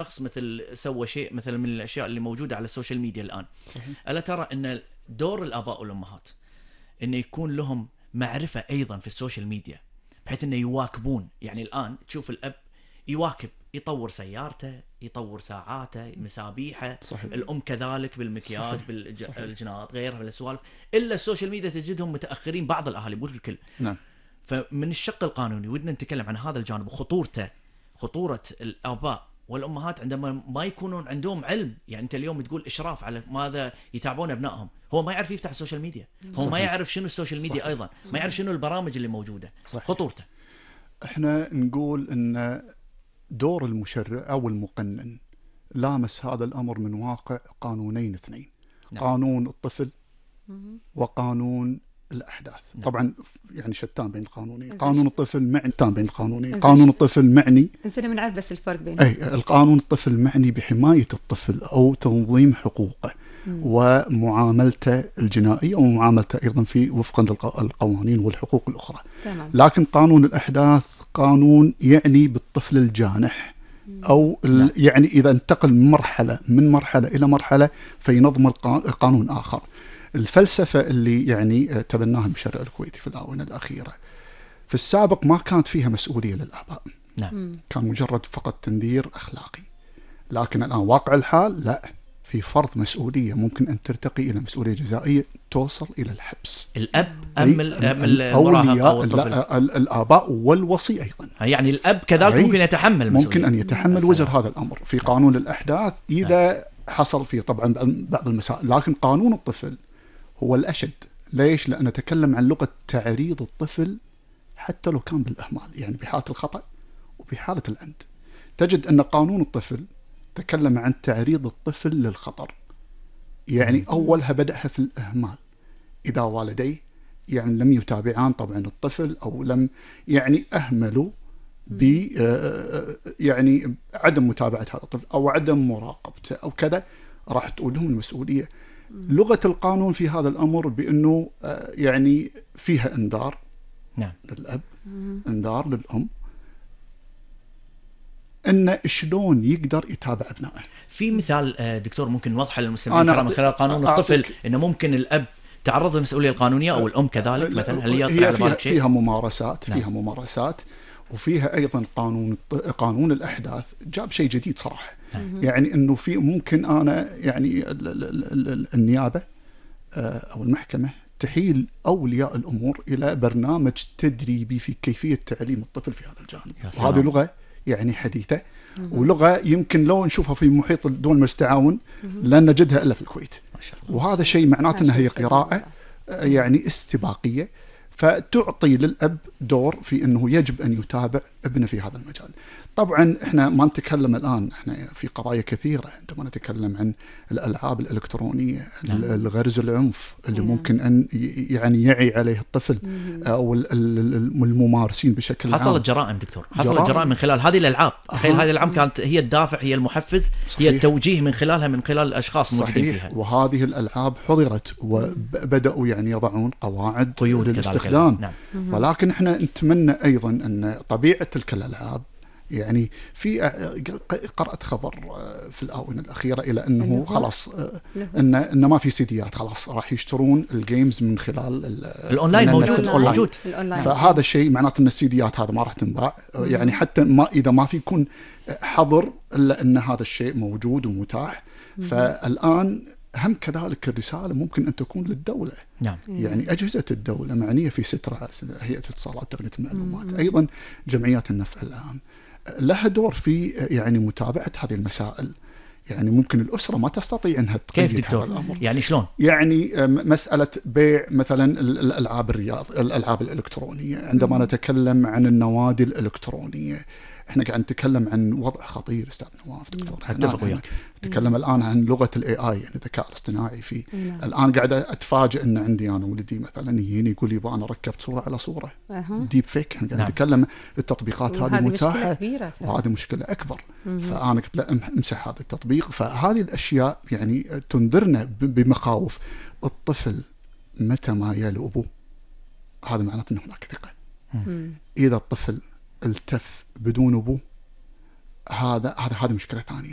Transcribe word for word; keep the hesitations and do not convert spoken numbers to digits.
شخص مثل سوى شيء مثلا من الاشياء اللي موجوده على السوشيال ميديا الان، الا ترى ان دور الاباء والامهات انه يكون لهم معرفه ايضا في السوشيال ميديا، بحيث انه يواكبون. يعني الان تشوف الاب يواكب، يطور سيارته، يطور ساعاته، مسابيحه. صحيح. الام كذلك بالمكياج، بالجناط، غيرها من السوالف. الا السوشيال ميديا تجدهم متاخرين، بعض الاهالي مو الكل. نعم. فمن الشق القانوني ودنا نتكلم عن هذا الجانب وخطورته، خطوره الاباء والامهات عندما ما يكونون عندهم علم. يعني انت اليوم تقول اشراف على ماذا يتابعون ابنائهم، هو ما يعرف يفتح السوشيال ميديا، هو صحيح. ما يعرف شنو السوشيال ميديا، صحيح. ايضا ما يعرف شنو البرامج اللي موجوده، صحيح. خطورته. احنا نقول ان دور المشرع او المقنن لامس هذا الامر من واقع قانونين اثنين. نعم. قانون الطفل وقانون الأحداث. نعم. طبعا يعني شتان بين القانونين. قانون الطفل معني بين القانونين. قانون الطفل معني نسينا بنعرف بس الفرق بينهم. أي القانون الطفل معني بحماية الطفل أو تنظيم حقوقه مم. ومعاملته الجنائية ومعاملته أيضا في وفقا للقوانين والحقوق الأخرى. تمام. لكن قانون الأحداث قانون يعني بالطفل الجانح أو نعم. يعني إذا انتقل من مرحلة من مرحلة إلى مرحلة فينظم القانون آخر. الفلسفة اللي يعني تبناها المشرع الكويتي في الآونة الأخيرة في السابق ما كانت فيها مسؤولية للآباء. نعم. كان مجرد فقط تندير أخلاقي. لكن الآن واقع الحال لا، في فرض مسؤولية ممكن أن ترتقي إلى مسؤولية جزائية توصل إلى الحبس. الأب أم المراهق أو الطفل؟ الآباء والوصي أيضا. يعني الأب كذلك ممكن يتحمل مسؤولية. ممكن أن يتحمل وزر هذا الأمر في قانون الأحداث إذا نعم. حصل فيه طبعا بعض المسائل. لكن قانون الطفل هو الأشد. ليش؟ لأن نتكلم عن لغة تعريض الطفل حتى لو كان بالإهمال، يعني بحالة الخطأ وبحالة العمد. تجد أن قانون الطفل تكلم عن تعريض الطفل للخطر، يعني أولها بدأها في الإهمال. إذا والديه يعني لم يتابعان طبعا الطفل أو لم يعني أهملوا ب يعني عدم متابعة هذا الطفل أو عدم مراقبته أو كذا، راح تقول لهم المسؤولية. لغة القانون في هذا الأمر بأنه يعني فيها إنذار نعم. للأب، إنذار للأم، أن شلون يقدر يتابع أبنائه. في مثال دكتور ممكن نوضحه للمستمعين الكرام من خلال قانون الطفل، إنه ممكن الأب تعرض للمسؤولية القانونية أو الأم كذلك مثلا؟ هل يطرح على بالك شيء؟ فيها ممارسات. نعم. فيها ممارسات وفيها أيضا قانون قانون الأحداث جاب شيء جديد صراحة. نعم. يعني إنه في ممكن أنا يعني النيابة أو المحكمة تحيل أولياء الأمور إلى برنامج تدريبي في كيفية تعليم الطفل في هذا الجانب. وهذه لغة يعني حديثة ولغة يمكن لو نشوفها في محيط الدول المستعاون لن نجدها إلا في الكويت. ما شاء الله. وهذا شيء معناته أنها هي قراءة يعني استباقية، فتعطي للأب دور في أنه يجب أن يتابع ابنه في هذا المجال. طبعا احنا ما نتكلم الآن احنا في قضايا كثيرة عندما نتكلم عن الألعاب الإلكترونية. نعم. الغرز العنف اللي نعم. ممكن أن يعني يعي عليه الطفل أو الممارسين بشكل عام. حصلت جرائم دكتور، حصلت جرائم, جرائم من خلال هذه الألعاب. تخيل هذه الألعاب كانت هي الدافع، هي المحفز. صحيح. هي التوجيه من خلالها من خلال الأشخاص الموجودين فيها. وهذه الألعاب حضرت وبدأوا يعني يضعون قواعد قيود للاستخدام. نعم. ولكن احنا نتمنى أيضا أن طبيعة تلك الألعاب يعني في قرأت خبر في الآونة الأخيرة إلى أنه خلاص إن إن ما في سيديات، خلاص راح يشترون الجيمز من خلال الأونلاين. موجود موجود. فهذا الشيء معناته أن السيديات هذا ما راح تنباع. يعني حتى ما إذا ما في يكون حظر إلا أن هذا الشيء موجود ومتاح. فالآن هم كذلك الرسالة ممكن أن تكون للدولة. نعم. يعني أجهزة الدولة معنية في سترها، هيئة الاتصالات تقنية المعلومات، أيضا جمعيات النفع العام لها دور في يعني متابعة هذه المسائل. يعني ممكن الأسرة ما تستطيع أنها تقيد. كيف دكتور؟ هذا الأمر. يعني شلون؟ يعني مسألة بيع مثلا الألعاب الرياض الألعاب الإلكترونية. عندما مم. نتكلم عن النوادي الإلكترونية احنا قاعد نتكلم عن وضع خطير استاذ نواف دكتور. اتفق وياك. نتكلم الان عن لغه الاي اي يعني الذكاء الاصطناعي في مم. الان قاعد اتفاجئ ان عندي انا ولدي مثلا يجيني يقول لي انا ركبت صوره على صوره أه. ديب فيك. احنا قاعد نتكلم نعم. التطبيقات هذه متاحه وهذه مشكله اكبر. مم. فانا قلت له امسح هذا التطبيق. فهذه الاشياء يعني تنذرنا بمخاوف. الطفل متى ما يلو ابوه هذا معناته انه هناك ثقه. اذا الطفل التف بدون أبوه هذا هذا هذه مشكله ثانيه.